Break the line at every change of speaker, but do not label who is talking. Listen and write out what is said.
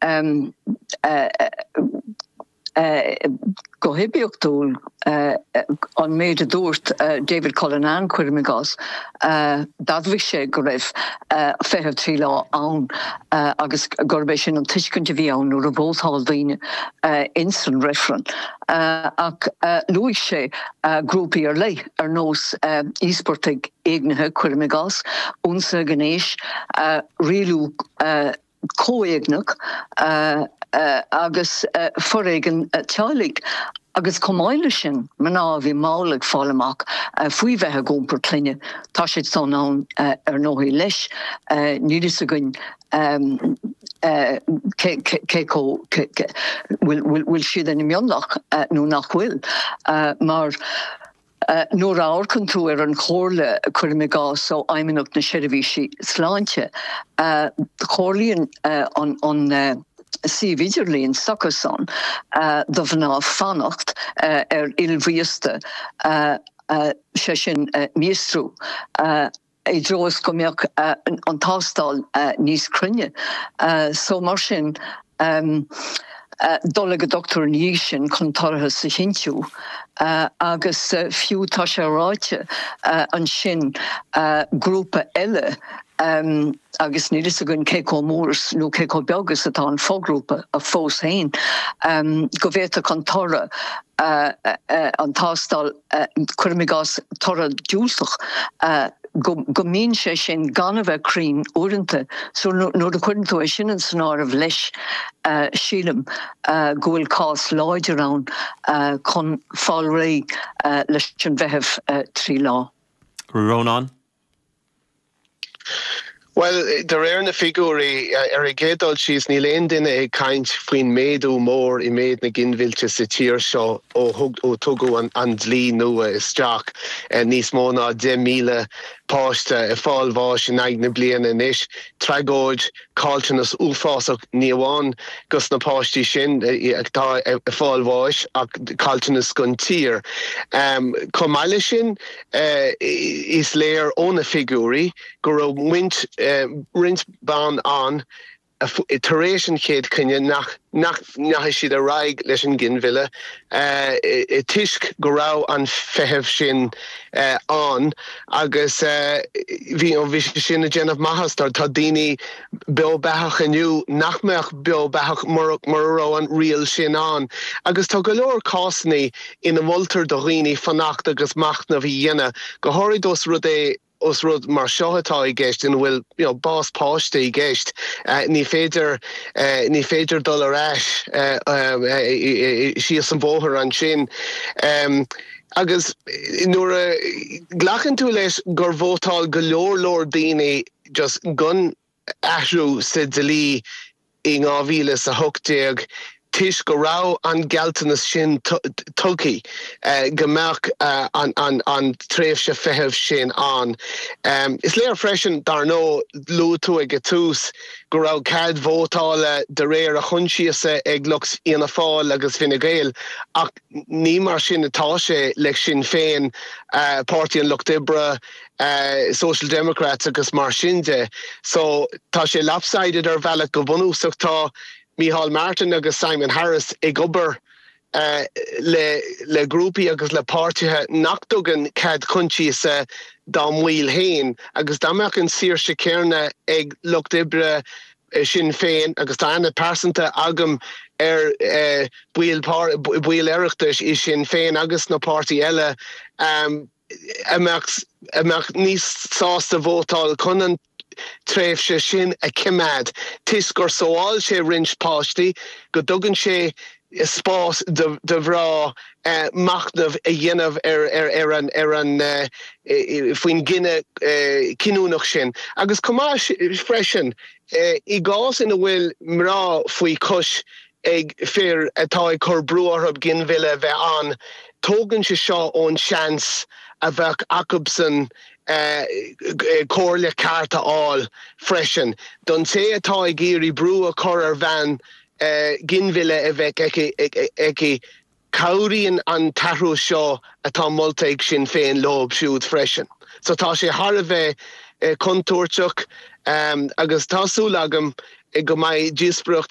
air go hoibiachtúil an méid a dúirt David Cullinane, cuirim i gcás, d'admhaigh sé go raibh feitheamh 3 lá ann agus gurb é sin an tuiscint a bhí ann nuair a vótáil daoine ins an reifreann. Ach luaigh sé grúpaí ar leith ar nós íospartaigh éignithe, cuirim i gcás, ionsaithe gnéis, rialú comhéigneach agus foréigean teaghlaigh agus chomh maith leis sin, mná a bhí mall ag fáil amach faoi bheith ag iompar clainne. Tá siad san ann ar ndóigh leis. Níl fhios againn cé chomh, bhfuil siad ina mionlach nó nach bhfuil mar. Nuair a amharcann tú ar an chomhairle, cuirim i gcás, ó Fheidhmeannacht na Seirbhísí Sláinte, comhairlíonn an suíomh idirlín s'acusan do mhná fanacht ar fhuil mhíosta, sé sin míostrú. i dtreo is go mbeadh an tástáil níos cruinne. So mar sin, dul ag an dochtúir ina dhiaidh sin chun toircheas a chinntiú agus fiú tá sé ráite ansin grúpa eile agus níl fhios againn cé chomh mór nó cé chomh beag is atá an foghrúpa fós féin, go bhféadfadh an toradh an tástáil cuirim i gcás toradh diúltach, go mbíonn sé sin gan a bheith cruinn uaireanta. So nuair a chuireann tú é sin san áireamh leis, sílim go bhfuil cás láidir ann chun fáil réidh leis an bhfeitheamh 3 lá.
Rónán.
Bhuel, de réir na figiúirí, ar an gcéad dul síos, níl aon duine ag caint faoin méadú mór i méid na ginmhillte sa tír seo ó ó tugadh an dlí nua isteach. Níos mó ná 10,000 páiste ag fáil bháis in aghaidh na bliana anois. Tragóid, caillteanas uafásach, ní amháin dos na páistí sin atá ag fáil bháis ach caillteanas don tír. Chomh maith leis sin, Is léir ó na figiúirí go raibh roinnt ban ann tar éis an chéad choinne nach ndeachaigh siad ar aghaidh leis an nginmhilleadh toisc go raibh an feitheamh sin ann agus bhí sé sin ag déanamh maitheas. Tá daoine beo beathach inniu nach mbeadh beo beathach mura raibh an riail sin ann agus tá go leor cásanna ina moltar do dhaoine fanacht agus machnamh a dhéanamh, go háirid ós rud é, ós rud mar seo atá i gceist, ina bhfuil you know bás páiste i gceist, ní féidir, ní féidir dul ar ais síos an bóthar ansin. Agus nuair a ghlacann tú leis gur vótáil go leor leor daoine just don athrú sa dlí in 2018 toisc go raibh an gealltanas sin tugtha go mbeadh an tréimhse feithimh sin ann. Is léir freisin, dar ndóigh, luaigh tú ag an tús go raibh cead vótála de réir a choinsiasa ag lucht Fhianna Fáil agus Fine Gael ach ní mar sin atá sé le Sinn Féin, Páirtí an Lucht Oibre, Social Democrats agus mar sin de. So tá sé lopsided ar bhealach go bunúsach tá Micheál Martin agus Simon Harris ag obair le le grúpaí agus le páirtithe nach dtugann cead coinsiasa dá mbaill féin agus dá mbeadh an saoirse céanna ag lucht oibre Sinn Féin agus tá aithne pearsanta agam ar baill baill Oireachtais i Sinn Féin agus sna páirtí eile a mbeadh a mbeadh níos sásta vótáil chun an tréimhse sin a choimeád toisc gur sábháil sé roinnt páistí, go dtugann sé spás do mhná machnamh a dhéanamh ar ar an ar an faoin gcinneadh cinniúnach sin. Agus chomh maith freisin, i gcás ina bhfuil mná faoi chois ag fir atá ag cur brú orthu ginmhilleadh a bheith ann, tógann sé seo ón seans a bheadh acubsan comhairle ceart a fháil freisin. Don té atá ag iarraidh brú a chur ar bhean ginmhilleadh a bheith aici, cabhraíonn an t-athrú seo atá molta ag Sinn Féin leo siúd freisin. So tá sé thar a bheith contúirteach agus tá súil agam go mbeidh díospóireacht.